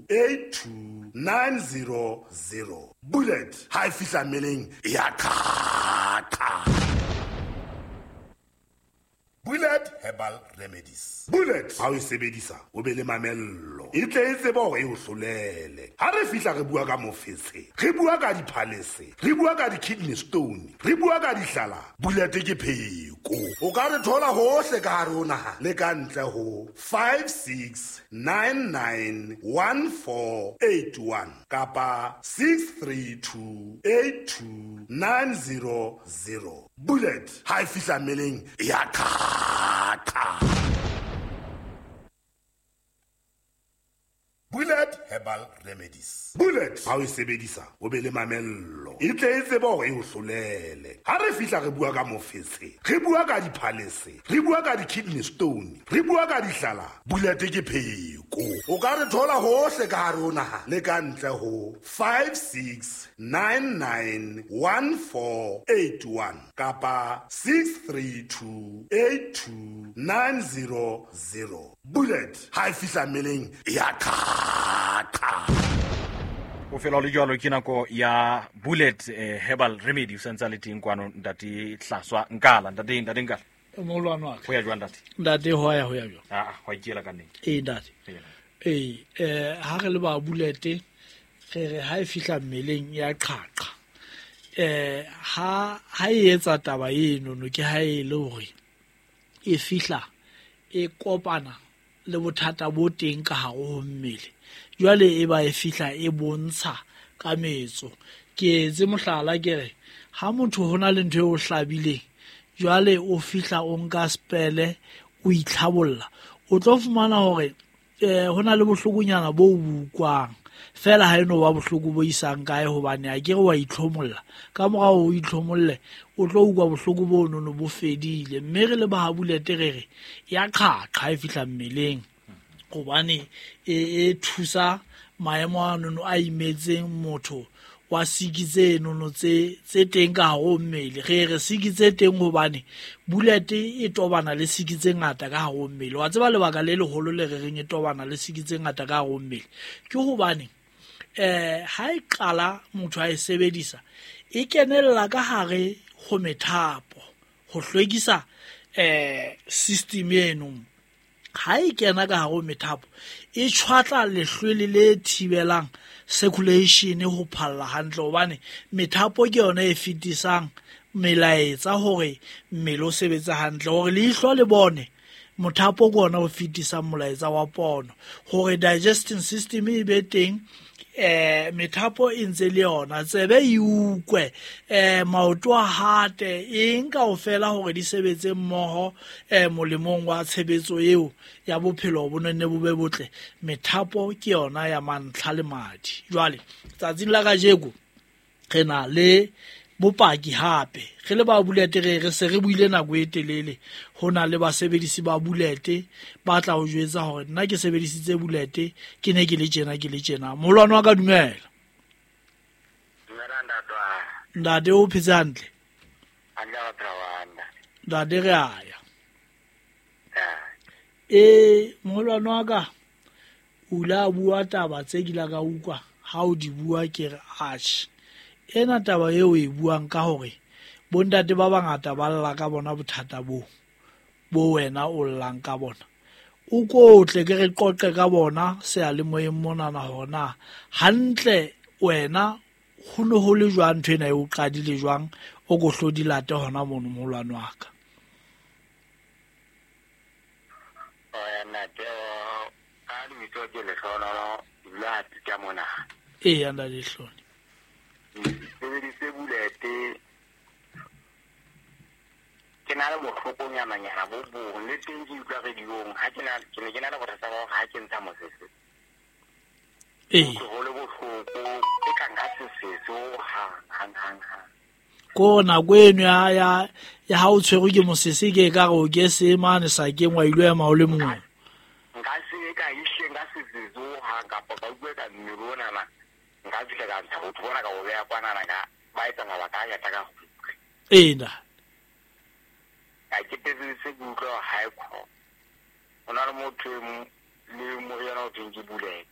82 900. Bullet ha e fihla mmeleng e ya qhaqa. Bullet Herbal Remedies. Bullet ha o e sebedisa o be le mamello e tle e tsebe hore e o hlolele. Ha re fihla re bua ka mofetshe, re bua ka diphalese, re bua ka di-kidney stone, re bua ka dihlala. Bullet ke pheko. O ka re thola hohle ka hare ho naha le ka ntle ho 56991481 kapa 63282900. Bullet ha e fihla mmeleng e ya qhaqa. Bullet Herbal Remedies. Bullet ha o e sebedisa o be le mamello e tle e tsebe hore e o hlolele. Ha re fihla re bua ka mofetshe, re bua ka diphalese, re bua ka di-kidney stone, re bua ka dihlala. Bullet ke pheko. O ka re thola hohle ka hare ho naha le ka ntle ho 56991481 kapa 63282900. Bullet ha e fihla mmeleng e ya qhaqa. O fela o le jwalo ke nako ya Bullet Herbal Remedy o santse a le teng kwano ntate Hlaswa Nkala. Ntate, ntate Nkala. Moholwane wa ka. Ho ya jwang ntate? Ntate ho ya, ho ya jwang? Ah, ho ikela ka nnete. Ee ntate. Ee, ha re le ba Bullet re re ha e fihla mmeleng ya qhaqa. Ha e etsa taba eno no ke ha e le hore e fihla e kopana le bothata bo teng ka hare ho mmele. Jwale e ba e fihla e bontsha ka metso. Ke etse mohlala ke re ha motho hona le ntho e o hlabileng, jwale o fihla o nka spele o itlhabolla, o tlo fumana hore hona le bohlokonyana bo ukwang fela ha eno ba bohloko bo isang kae, hobane a ke re wa itlhomolla. Ka morao o itlhomolle o tlo utlwa bohloko bo nono bo fedile. Mme re le ba Bullet re re ya qhaqa ha e fihla mmeleng, hobane e thusa maemo a nono a imetseng motho wa siki tse nono tse teng ka hare ho mmele. Re re siki tse teng hobane Bullet e tobana le siki tse ngata ka hare ho mmele. Wa tseba lebaka le leholo le re reng e tobana le siki tse ngata ka hare ho mmele ke hobane ha e qala motho a e sebedisa e kenella ka hare ho methapo ho hlwekisa system eno. Ha e kena ka hare ho methapo e tshwatla lehlwele le thibelang circulation ho phalla hantle, hobane methapo ke yona e fetisang melaetsa hore mmele o sebetse hantle, hore leihlo le bone mothapo ke ona o fetisang molaetsa wa pono, hore digestion system e be teng, methapo e ntse le yona, tsebe e ukwe, maoto a hate, eng kaofela hore di sebetse mmoho, molemong wa tshebetso eo ya bophelo bo nne bo be botle. Methapo ke yona ya mantlha le madi. Jwale tsatsing la kajeko re na le bopaki hape re le ba Bullet, re se re buile nako e telele ho na le basebedisi ba Bullet ba tla o jwetsa hore nna ke sebedisitse Bullet ke ne ke le tjena, ke le tjena. Moholwane wa ka, dumela. Dumela ntate wa. Ntate o phetse hantle? Hantle wa phela wa ntate. Ntate re a ya. Moholwane wa ka, o ile a bua taba tse ke ile ka utlwa ha o di bua ke re atjhe, ena taba eo e buang ka hore bontate ba bangata ba lla ka bona bothata bo bo wena o llang ka bona, o kotle ke re qoqe ka bona seyalemoyeng monana hore na hantle wena ho ne ho le jwang ntho ena e o qadile jwang, o ko hlo di late hona mono moholwane wa ka. Ntate, ka lebitso ke Lehlohonolo, ke dula ha Pika mona. Eya, ntate Lehlohonolo. Sebedise Bullet ke na le bohlokonyana-nyana bo bong, le teng ke utlwa radio-ong, ha ke na, ke ne ke na le bothata ba hore ha ke ntsha mosese. Ho le bohloko, e ka nka sesese ho hang, hang, hang, hang. Ko nako eno ya ha o tshwerwe ke mosese ke e ka re o ke se mane sakeng wa ilo ema o le mong. Nka se ka ehlile nka sesese ho hang, kapa ka utlwa ka mmele onana, nka fihla ka ntsha botho bona ka bo beha kwanana ka ba etsa mabaka a ngata ka kgutle. Ena. Ka ke tetse ke utlwa hore ha e khona. Ho na le motho e mong, le moriana o thweng ke Bullet.